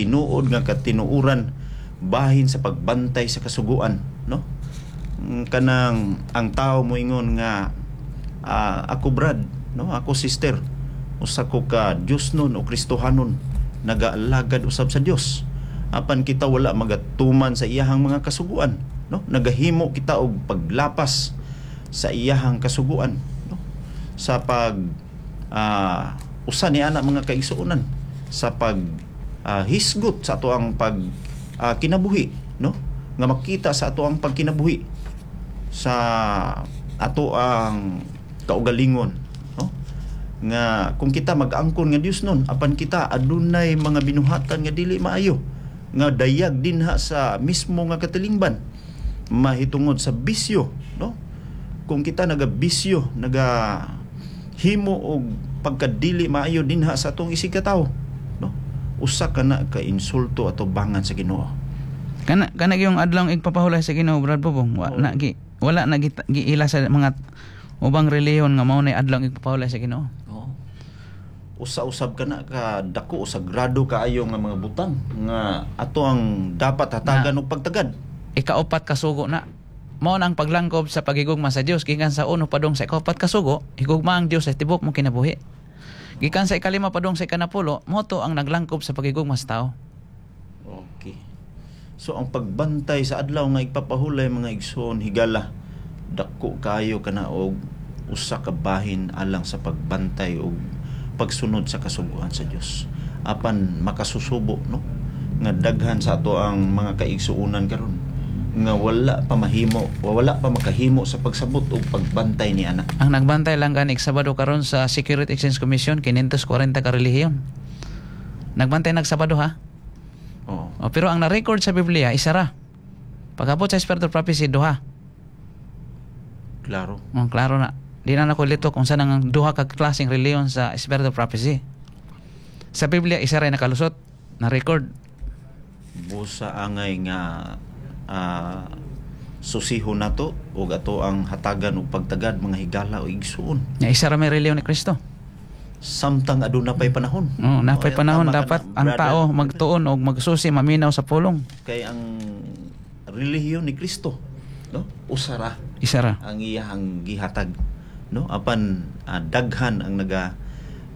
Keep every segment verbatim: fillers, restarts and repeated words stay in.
tinuod nga katinuoran bahin sa pagbantay sa kasuguan, no? Mm, kanang ang tao moingon nga ah, ako brad, no, ako sister, usa ko ka Diosnon o Kristohanon, nagaalagad usab sa Dios, apan kita wala magatuman sa iyahang mga kasuguan, no? Nagahimo kita og paglapas sa iyahang kasuguan, no? Sa pag ah, usa ni ana, mga kaigsuonan, sa pag ah, hisgot sa ato ang pag ah, kinabuhi, no, nga makita sa ato ang pagkinabuhi sa ato ang kaugalingon, no, nga kung kita mag-angkon nga Dios nun apan kita adunay mga binuhatan nga dili maayo nga dayag dinha sa mismo nga katilingban mahitungod sa bisyo, no? Kung kita naga bisyo, naga himo og pagkadili maayo dinha sa atong isig katawo, no, usa ka na ka insulto ato bangan sa Ginoo. Kana kana yung adlaw igpapahulay sa Ginoo, Brad Bobong, wa Oo. na gi wala na gi, giila sa mga ubang relihiyon nga mao na adlaw igpapahulay sa Ginoo. Oo. Usa-usab ka na ka dako o sagrado kaayo nga mga butang nga ato ang dapat hatagan og pagtagad. Ikaupat kasugo na. Mao na ang paglangkob sa pagigugma sa Dios gikan sa uno padung sa ikaupat kasugo, higugma ang Dios sa tibok mo kinabuhi. Gikan sa ikalima padung sa ikanapulo, mao to ang naglangkob sa pagigugma sa tao. Okay. So ang pagbantay sa adlaw nga igpapahulay, mga igsoon higala, dako kayo kana og usa ka bahin alang sa pagbantay og pagsunod sa kasuguan sa Dios. Apan makasusubo, no, nga daghan sa ato ang mga kaigsuonan karon nga wala pa mahimo, wala pa makahimo sa pagsabot og pagbantay ni ana. Ang nagbantay lang gani Sabado karon sa Security Exchange Commission, kinyentos kwarenta ka relihiyon. Nagbantay nagsabado ha. Oo. O, pero ang na-record sa Biblia isa ra. Pag-abot sa Spirit of Prophecy, duha. Klaro. Oh, klaro na. Di na nako lito kung saan ang duha ka klaseng relihiyon sa Spirit of Prophecy. Sa Biblia, isa ra nakalusot na record. Busa angay nga ah, susihon nato ug ato ang hatagan og pagtagad, mga higala o igsuon. Nga isa ra may relihiyon ni Kristo. Samtang aduna pay panahon. Oh, napay Oh, panahon, tama ka dapat na, ang brother. tao magtuon og magsusi, maminaw sa pulong. Kay ang relihiyon ni Kristo, no, usara Isa ra. ang iyahang gihatag, no? Apan ah, daghan ang naga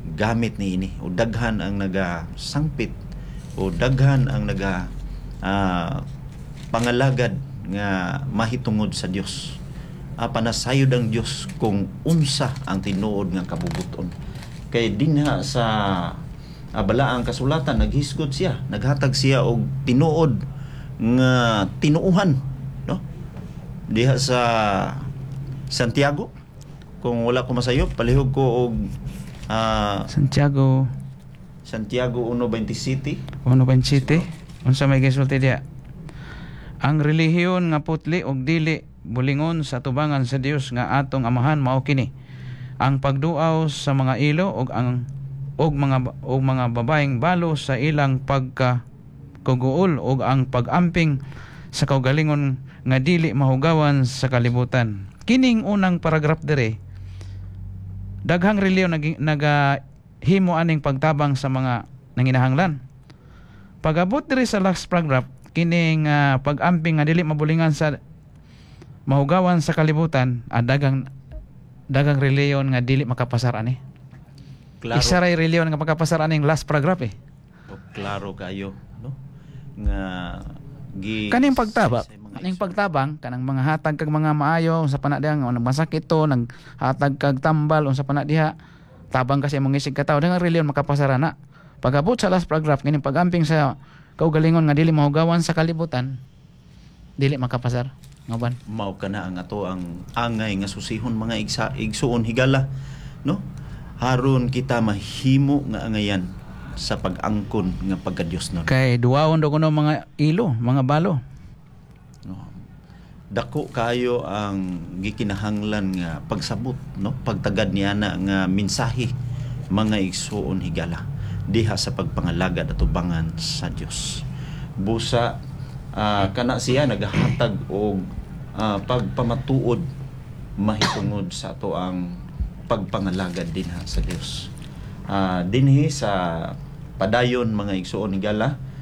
gamit niini o daghan ang naga sangpit o daghan ang naga ah, pangalagad nga mahitungod sa Dios, apan nasayod ang Dios kung unsa ang tinuod nga kabubuton, kay dinha sa ah, balaang kasulatan naghisgot siya, naghatag siya og tinuod nga tinuuhan, no? Diha sa Santiago, kung wala ko masayop, palihog ko og ah, Santiago. Santiago one twenty-seven. one twenty-seven. Unsa may gisulti diya? Ang relihiyon nga putli og dili bulingon sa tubangan sa Dios nga atong Amahan mao kini: ang pagduaw sa mga ilo og ang og mga og mga babaeng balo sa ilang pagka kuguol og ang pag-amping sa kaugalingon nga dili mahugawan sa kalibutan. Kining unang paragraph dire, daghang relihiyon nag, nagahimo aning pagtabang sa mga nanginahanglan. Pag-abot diri sa last paragraph, kining ah, pag-amping nga dili mabulingan sa mahugawan sa kalibutan, ah, dagang dagang relihiyon nga dili makapasar ani. Klaro. Isa ray relihiyon nga makapasar aning last paragraph eh. O, klaro kayo, no, nga gi Kaning pagtaba, sa mga kaning pagtabang kanang mga hatag kag mga maayo unsa pa na diha nga nagmasakit to, naghatag kag tambal, unsa pa na diha, tabang kasi imong isig katawo, daghang relihiyon makapasar ana. Pag-abot sa last paragraph, kining pag-amping sa kaugalingon nga dili mahugawan sa kalibutan, dili makapasar. Ngaban. Mao kana ang ato ang angay nga susihon, mga igsa, igsuon higala, no, haron kita mahimo nga angayan sa pag-angkon nga pagka-Dios nun. Kay duwaon daw kuno mga ilo, mga balo. No, dako kayo ang gikinahanglan nga pagsabot, no, pagtagad niya na nga mensahe, mga igsuon higala, diha sa pagpangalagad atubangan sa Dios. Busa ah, kana siya nagahatag og ah, pagpamatuod mahitungod sa ato ang pagpangalagad dinha sa Dios. Ah, dinhi sa padayon, mga igsuon higala.